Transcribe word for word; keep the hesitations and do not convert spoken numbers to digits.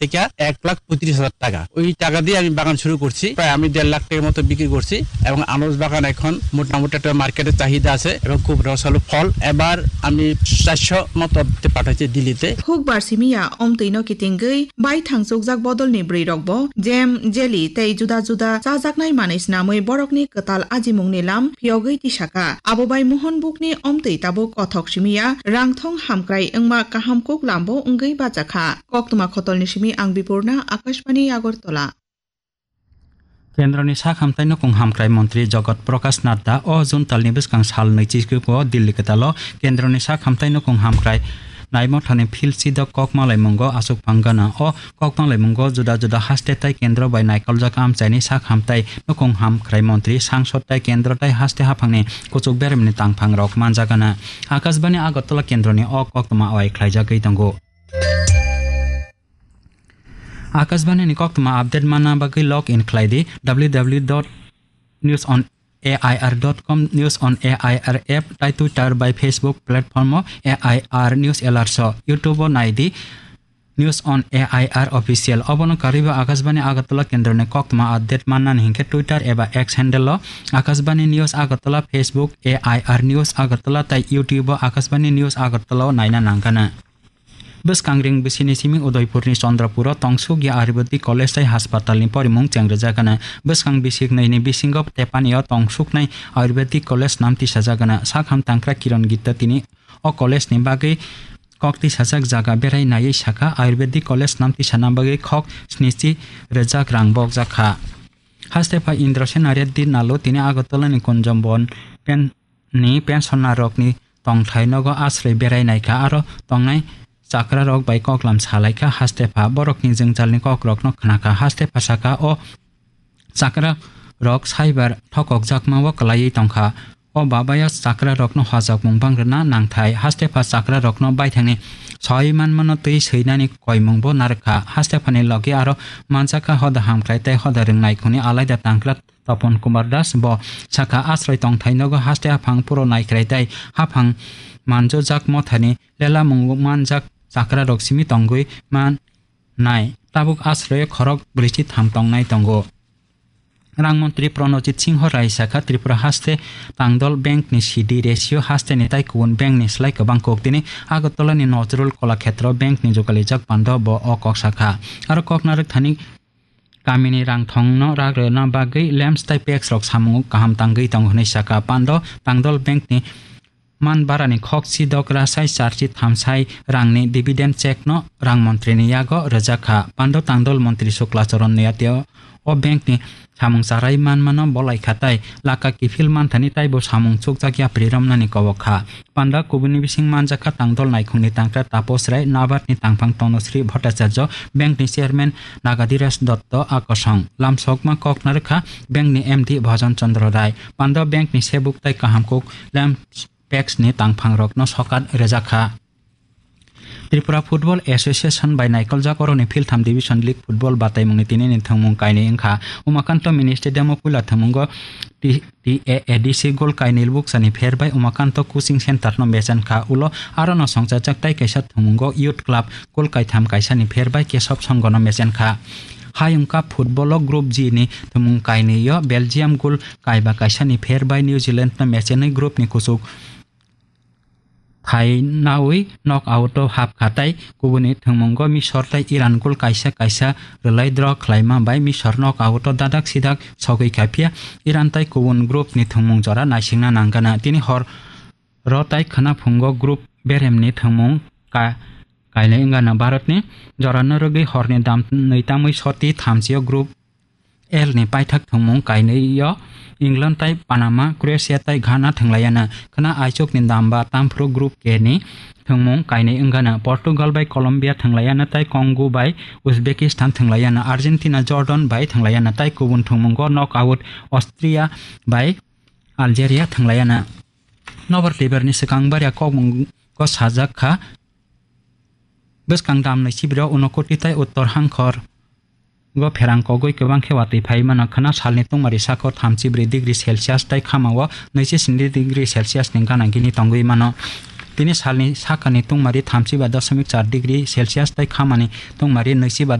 থেকে এক লাখ পঁয়ত্রিশ হাজার টাকা। ওই টাকা দিয়ে আমি বাগান শুরু করছি, প্রায় আমি দেড় লাখ টাকার মতো বিক্রি করছি এবং আনারস বাগান এখন মোটামুটি একটা মার্কেটে চাহিদা আছে এবং খুব রসালো ফল। এবার আমি চারশো মতো পাঠাচ্ছি দিল্লিতে। Hukbar simi ya omtwi no kitingwi bai thangchukjak bodol ni bwrwi rok bo jam, jelly tei juda juda chajaknai manwi snamwi borok ni kwtal ajimung ni lam phiyogwi tisakha. Abo bai Mohon bukni omtwi tabuk kothok simi ya rangthong hamkrai wngma kaham kuk lam bo wngwi bacha kha. Koktwma khotol ni simi ang Bipurna, Akashbani Agartala. Kendroni sak hamtai nukung hamkrai montri Jagat Prakash Nadda o June talni bwskang sal nwichiko Delhi kwtalo kendroni sak hamtai nukung hamkrai naimothani field sidok kok malaimungo aswk phang gana. O kok malaimungo juda juda haste tai kendro bai naikoljak amchaini sak hamtai nukung hamkrai montri, sangsod tai kendro tai haste haphangni kuchuk beremni tangphangrok manjak gana. Akashbani Agartala kendroni o koktwma wai khlaijagwi tongo. Akashbani ni koktwma update manna bagwi log in khlai di W W W dot news on A I R dot com, News on A I R app, tai Twitter bai Facebook platform o A I R News Alerts o, YouTube o nai di News on A I R Official. Obono karwi bo Akashbani Agartala kendroni koktwma update mannani hinkhe Twitter eba X handle o Akashbani News Agartala, Facebook A I R News Agartala tai YouTube o Akashbani News Agartala o naina nangkana. Bwskang ring bisini simi Udaipurni Chandrapuro tongsukya Ayurvedic College tai haspatalni porimung chengrijak gana. Bwskang bisik nwi ni bisingo Tepani o tongsuknai Ayurvedic College nam tisajak gana. Sakham tangkra Kiran Gitta tini o college ni bagwi kok tisajak jaga berai naiwi sakha, Ayurvedic College nam tisana bagwi khok snichi rwjak rang bokjak kha. Haste pha Indrasen Reddy Nalo tini Agartala ni Kunjambon pen ni pensioner rokni tongthai nogo asroi berai naikha, aro tongnai chakra rok bai koklam salaikha. Haste pha borokni jwngjalni kokrokno khnakha. Haste pha saka o chakra rok saibar thokokjakma o kwlaiwi tongkha. O babaya chakra rokno hojakmung bangrwna nangthai. Haste pha chakra rokno baithangni soi manmano twi swinani koimung bo narwkha. Haste phani logi aro manjakha hoda hamkrai tei hoda rwngnai khuni alaida tangkra Tapon Kumar Das bo sakha, asroi tongthai nogo haste haphang puro naikrai tei haphang manjojak mothani lela mung manjak chakra rok simi tongwi man nai. Tabuk asroi khorok brwichi tham tongnai tongo. Rang montri Pranojit Singho Rai sakha, Tripura haste tangdol bank ni C D ratio haste ni tai kubun bank ni slai kwbang kok tini Agartala ni Nazrul Kolakhetro bank ni jugalijak pando bo o kok sakha. Aro kok narwk thani kamini rang thongno rak rwna bagwi lamps tai packs rok samung kaham tangwi tongo hwnwi sakha. Pando tangdol bank ni man barani khok si dok rasai charchi thamsai rangni dividend check no rang montri ni yago rwjak kha. Pando tangdol montri Sukla Charan Noatia o bank ni samung charai manmano bolai kha tai laka kiphil manthani taibo samung chukjak yapri romnani kobok kha. Panda kubuni bising manjakha tangdol naikhungni tangkra Taposh Rai, Nabard ni tangphang Tonosri Bhattacharya, bank ni chairman Nagadhiraj Dotto, akosong lamsokma kok narwkha bank ni M D Bhajan Chandra Rai. Panda bank ni sebuk tai kahamkuk lamps packs ni tangphang rokno sokat rwjakha. Tripura Football Association bai naikoljak oroni philtham Division League Football bataimungni tinini thwngmung kainwi wngkha. Umakanto Mini Stadium o puila thwngmungo T-, T A A D C gol kainwi buksani pher bai Umakanto Coaching Center no mechen kha. Ulo aro no songchajak tai kaisa thwngmungo Youth Club gol kaitham kaisani pher bai Kesab Songho no mechen kha. Hayung Cup football o Group G ni thwngmung kainwi o Belgium gol kaiba kaisani pher bai New Zealand no mechenwi group ni kuchuk thai naui knock out o hap kha tai kubuni thwngmungo Misor tai Iran gol kaisa kaisa rwlai draw khlaima bai Misor knock out o dadak sidak sogwi kha, phiya Iran tai kubun group ni thwngmung jora naisingna nang gana. Tini hor ro tai khwna phungo group beremni thwngmung ka-, kainwi wng gana. Bharatni jorano rwgwi horni dam nwi tamwi soti thamchi o group L ni paithak thwngmung kainwi o England tai Panama, Croatia tai Ghana thwnglaiyana. Khwna aichukni dam ba tamphru Group K ni thwngmung kainwi wngana. Portugal bai Colombia thwnglaiyana tai Congo bai Uzbekistan thwnglaiyana. Argentina Jordan bai thwnglaiyana tai kubun thwngmungo knockout Austria bai Algeria thwnglaiyana. Nobar Tiber ni swkang barya kokmungo sajak kha. Bwskang damni sibiro Unakoti tai Uttor Hangkhor go pherang kogwi kwbang khe watwi phai mano. Khwna salni tungmari sakho thamchi bwrwi degree Celsius tai khamao nwichi sni degree Celsius ni gana gini tongwi mano. Tini salni sakani tungmari thamchi ba dosmik char degree Celsius tai khamani tungmari nwichi ba